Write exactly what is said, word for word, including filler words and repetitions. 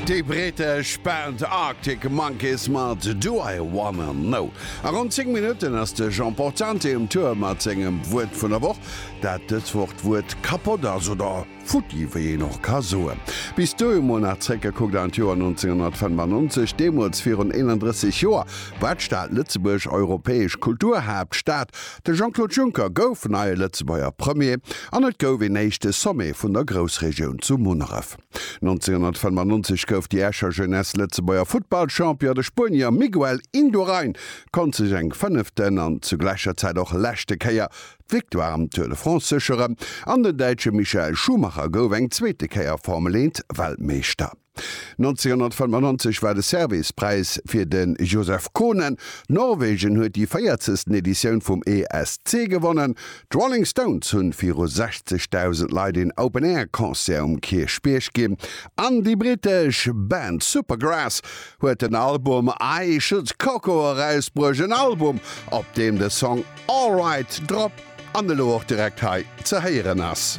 Déi brittesch Band Arctic Monkeys mat Do I Wanna Know. A ronn zéng Minutten ass de Jean Portante um Tour mat sengem Wuert vun der Woch, dat dës Woch d'Wuert kapott ass, oder futti, wéi een och ka soen. Bis dohi mol nach zréckgekuckt an d'Joer nonzénghonnertfënnefannonzeg, deemools virun eenandrësseg Joer war d'Stad Lëtzebuerg europäesch Kulturhaaptstad, de Jean-Claude Juncker gouf neie Lëtzebuerger Premier an et gouf een éischte Sommet vun der Groussregioun zu Munneref. nonzénghonnertfënnefannonzeg gouf déi Escher Jeunesse Lëtzebuerger Futtballchampion, de Spuenier Miguel Indurain konnt sech eng fënneften an zu gläicher Zäit och leschte Kéier d'Victoire am Tour de France sécheren an den Däitsche Michael Schumacher gouf eng zweete Kéier Formel eent Weltmeeschter. nonzénghonnertfënnefannonzeg war de Servicepräis fir de Joseph Kohnen, Norwegen huet déi véierzegsten Editioun vum E S C gewonnen, d'Rolling Stones hunn viru sechzegdausend Leit een Open-Air-Concert um Kierchbierg ginn an déi brittesch Band Supergrass huet den Album I Should Coco erausbruecht, en Album, op deem de Song Alright drop an elo och direkt hei ze héieren ass.